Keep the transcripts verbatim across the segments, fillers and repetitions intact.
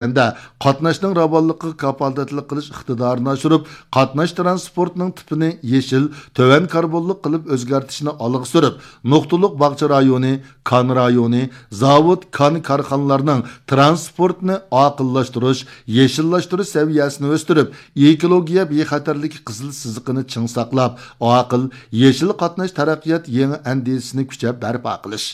ھەمدە قاتناشنىڭ راۋانلىقىغا كاپالەتلىك قىلىش ئىقتىدارىنى ئاشۇرۇپ، قاتناش تىرانسپورتىنىڭ تىپىنى يېشىل، تۆۋەن كاربونلۇق قىلىپ ئۆزگەرتىشنى ئالغا سۈرۈپ، نۇقتىلىق باغچە رايونى، كان رايونى، زاۋۇت، كان كارخانىلارنىڭ تىرانسپورتنى ئاقىللاشتۇرۇش، يېشىللاشتۇرۇش سەۋىيەسىنى ئۆستۈرۈپ، ئېكولوگىيە بىخەتەرلىكى قىزىل سىزىقىنى چىڭ ساقلاپ، ئاقىل، يېشىل قاتناش تەرەققىيات يېڭى ئەندىزىسىنى كۈچەپ بەرپا قىلىش.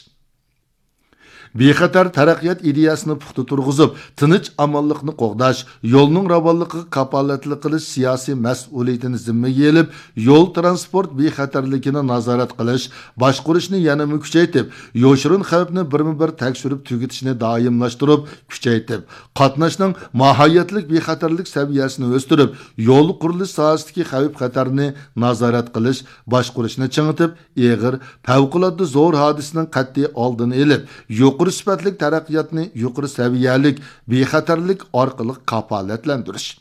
بىخەتەر تەرەققىيات ئىدىيەسىنى پۇختا تۇرغۇزۇپ، تىنچ-ئامانلىقنى قوغداش، يولنىڭ راۋانلىقىغا كاپالەتلىك قىلىش سىياسىي مەسئۇلىيىتىنى زىممىگە ئېلىپ، يول تىرانسپورت بىخەتەرلىكىنى نازارەت قىلىش، باشقۇرۇشنى يەنىمۇ كۈچەيتىپ، يوشۇرۇن خەۋپنى بىرمۇبىر تەكشۈرۈپ تۈگىتىشنى دائىملاشتۇرۇپ كۈچەيتىپ، قاتناشنىڭ ماھىيەتلىك بىخەتەرلىك سەۋىيەسىنى ئۆستۈرۈپ، يول قۇرۇلۇش ساھەسىدىكى خەۋپ-خەتەرنى نازارەت قىلىش، باشقۇرۇشنى چىڭىتىپ، ئېغىر، پەۋقۇلئاددە زور ھادىسىنىڭ قەتئىي ئالدىنى ئېلىپ، يۇقىرى سۈپەتلىك تەرەققىياتنى يۇقىرى سەۋىيەلىك، بىخەتەرلىك ئارقىلىق كاپالەتلەندۈرۈش.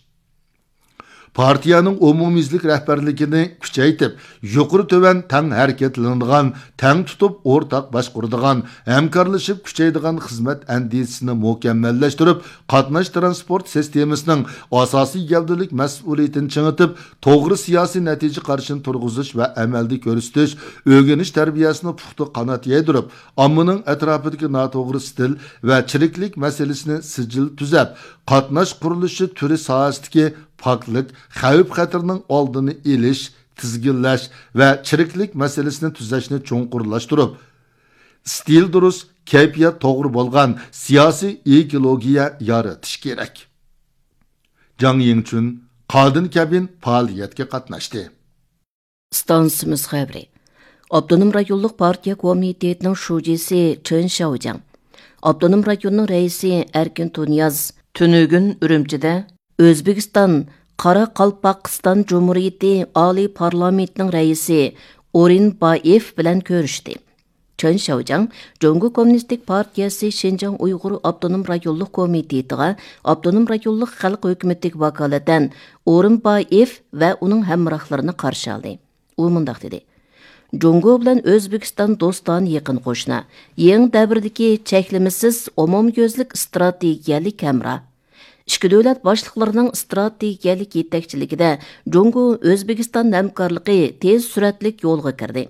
پارتىيەنىڭ ئومۇميۈزلۈك رەھبەرلىكىنى كۈچەيتىپ، يۇقىرى تۆۋەن تەڭ ھەرىكەتلىنىدىغان، تەڭ تۇتۇپ ئورتاق باشقۇرىدىغان، ھەمكارلىشىپ كۈچەيدىغان خىزمەت ئەندىزىسىنى مۇكەممەللەشتۈرۈپ، قاتناش تىرانسپورت سىستېمىسىنىڭ ئاساسىي گەۋدىلىك مەسئۇلىيىتىنى چىڭىتىپ، توغرا سىياسىي نەتىجە قارىشىنى تۇرغۇزۇش ۋە ئەمەلدە كۆرسىتىش، ئۆگىنىش تەربىيەسىنى پۇختا قانات يايدۇرۇپ، ئاممىنىڭ ئەتراپىدىكى ناتوغرا ئىستىل ۋە چىرىكلىك مەسىلىسىنى سىجىل تۈزەپ، قاتناش قۇرۇلۇشى تۈرى ساھەسىدىكى پاكلىق، خەۋپ-خەتىرىنىڭ ئالدىنى ئېلىش، تىزگىنلەش ۋە چىرىكلىك مەسىلىسىنى تۈزەشنى چوڭقۇرلاشتۇرۇپ، ئىستىل دۇرۇس، كەيپىيات توغرا بولغان سىياسىي ئېكولوگىيە يارىتىش كېرەك. جاڭ يىڭچۈن، قادىن كەبىن پائالىيەتكە قاتناشتى. ئىستانسىمىز خەۋىرى. ئاپتونوم رايونلۇق پارتىيە كومىتېتىنىڭ شۇجىسى چېن شياۋجياڭ، ئاپتونوم رايوننىڭ رەئىسى ئەركىن تۇنىياز تۈنۈگۈن ئۈرۈمچىدە ئۆزبېكىستان قاراقالپاقىستان جۇمھۇرىيىتى ئالىي پارلامېنتىنىڭ رەئىسى ئورۇنبايېف بىلەن كۆرۈشتى. چېن شياۋجياڭ جۇڭگو كوممۇنىستىك پارتىيەسى شىنجاڭ ئۇيغۇر ئاپتونوم رايونلۇق كومىتېتىغا ئاپتونوم رايونلۇق خەلق ھۆكۈمىتىگە ۋاكالىتەن ئورۇنبايېف ۋە ئۇنىڭ ھەمراھلىرىنى قارشى ئالدى. ئۇ مۇنداق دېدى: جۇڭگو بىلەن ئۆزبېكىستان دوستانە يېقىن قوشنا، يېڭى دەۋردىكى چەكلىمىسىز ئومۇميۈزلۈك ئىستراتېگىيەلىك ھەمراھ. ئىككى دۆلەت باشلىقلىرىنىڭ ئىستراتېگىيەلىك يېتەكچىلىكىدە جۇڭگو ئۆزبېكىستان ھەمكارلىقى تېز سۈرئەتلىك يولغا كىردى.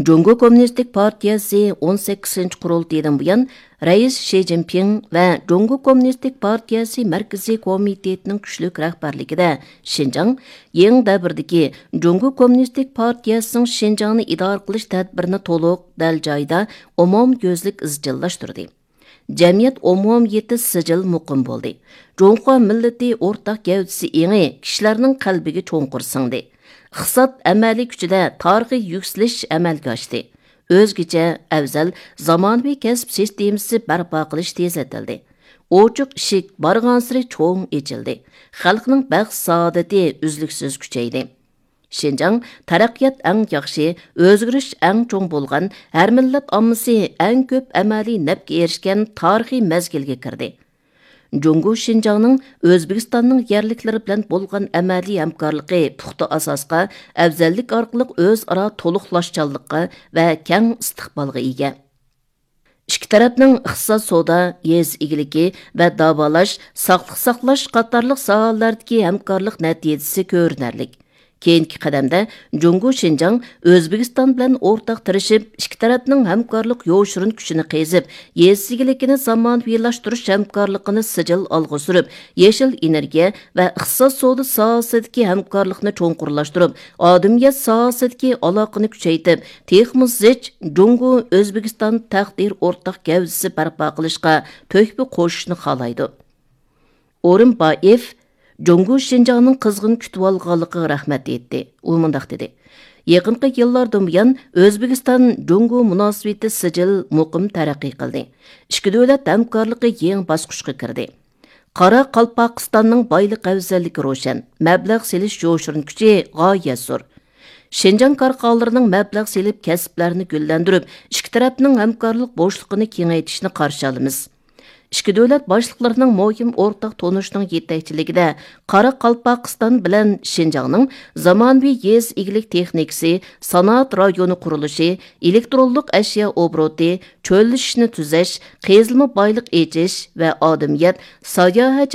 جۇڭگو كوممۇنىستىك پارتىيەسى ئون سەككىزىنچى قۇرۇلتىيىدىن بۇيان، رەئىس شى جىنپىڭ ۋە جۇڭگو كوممۇنىستىك پارتىيەسى مەركىزىي كومىتېتىنىڭ كۈچلۈك رەھبەرلىكىدە شىنجاڭ يېڭى دەۋردىكى جۇڭگو كوممۇنىستىك پارتىيەسىنىڭ شىنجاڭنى ئىدارە قىلىش تەدبىرىنى تولۇق، دەل جايىدا، ئومۇميۈزلۈك ئىزچىللاشتۇردى. جەمئىيەت ئومۇمىيىتى سىجىل مۇقىم بولدى. جۇڭخۇا مىللىتى ئورتاق گەۋدىسى ئېڭى كىشىلەرنىڭ قەلبىگە چوڭقۇر سىڭدى. ئىقتىساد ئەمەلىي كۈچىدە تارىخىي يۈكسىلىش ئەمەلگە ئاشتى. ئۆزگىچە، ئەۋزەل، زامانىۋى كەسىپ سىستېمىسى بەرپا قىلىش تېزلىتىلدى. ئوچۇق ئىشىك بارغانسېرى چوڭ ئېچىلدى. خەلقنىڭ بەخت-سائادىتى ئۈزلۈكسىز كۈچەيدى. شىنجاڭ تەرەققىيات ئەڭ ياخشى، ئۆزگىرىش ئەڭ چوڭ بولغان، ھەر مىللەت ئاممىسى ئەڭ كۆپ ئەمەلىي نەپكە ئېرىشكەن تارىخىي مەزگىلگە كىردى. جۇڭگو شىنجاڭنىڭ ئۆزبېكىستاننىڭ يەرلىكلىرى بىلەن بولغان ئەمەلىي ھەمكارلىقى پۇختا ئاساسقا، ئەۋزەللىك ئارقىلىق ئۆزئارا تولۇقلاشچانلىققا ۋە كەڭ ئىستىقبالغا ئىگە. ئىككى تەرەپنىڭ ئىقتىساد، سودا، يېزا ئىگىلىكى ۋە داۋالاش، ساقلىق ساقلاش قاتارلىق ساھەلەردىكى ھەمكارلىق نەتىجىسى كۆرۈنەرلىك. كېيىنكى قەدەمدە جۇڭگو شىنجاڭ ئۆزبېكىستان بىلەن ئورتاق تىرىشىپ، ئىككى تەرەپنىڭ ھەمكارلىق يوشۇرۇن كۈچىنى قېزىپ، يېزا ئىگىلىكىنى زامانىۋىلاشتۇرۇش ھەمكارلىقىنى سىجىل ئالغا سۈرۈپ، يېشىل ئېنېرگىيە ۋە ئىقتىساد، سودا ساھەسىدىكى ھەمكارلىقنى چوڭقۇرلاشتۇرۇپ، ئادىمىيەت ساھەسىدىكى ئالاقىنى كۈچەيتىپ، تېخىمۇ زىچ جۇڭگو ئۆزبېكىستان تەقدىر ئورتاق گەۋدىسى بەرپا قىلىشقا تۆھپە قوشۇشنى خالايدۇ. ئورۇنبايېف جۇڭگو شىنجاڭنىڭ قىزغىن كۈتۈۋالغانلىقىغا رەھمەت ئېيتتى. ئۇ مۇنداق دېدى: يېقىنقى يىللاردىن بۇيان، ئۆزبېكىستان جۇڭگو مۇناسىۋىتى سىجىل، مۇقىم تەرەققىي قىلدى. ئىككى دۆلەت ھەمكارلىقى يېڭى باسقۇچقا كىردى. قاراقالپاقىستاننىڭ بايلىق ئەۋزەللىكى روشەن، مەبلەغ سېلىش يوشۇرۇن كۈچى غايەت زور. شىنجاڭ كارخانىلىرىنىڭ مەبلەغ سېلىپ، كەسىپلەرنى گۈللەندۈرۈپ، ئىككى تەرەپنىڭ ھەمكارلىق بوشلۇقىنى كېڭەيتىشىنى قارشى ئالىمىز. ئىككى دۆلەت باشلىقلىرىنىڭ مۇھىم ئورتاق تونۇشىنىڭ يېتەكچىلىكىدە قاراقالپاقىستان بىلەن شىنجاڭنىڭ زامانىۋى يېزا ئىگىلىك تېخنىكىسى، سانائەت رايونى قۇرۇلۇشى، ئېلېكترونلۇق ئەشيا ئوبوروتى، چۆللىشىشنى تۈزەش، قېزىلما بايلىق ئېچىش ۋە ئادەمىيەت ساياھەتچىلىك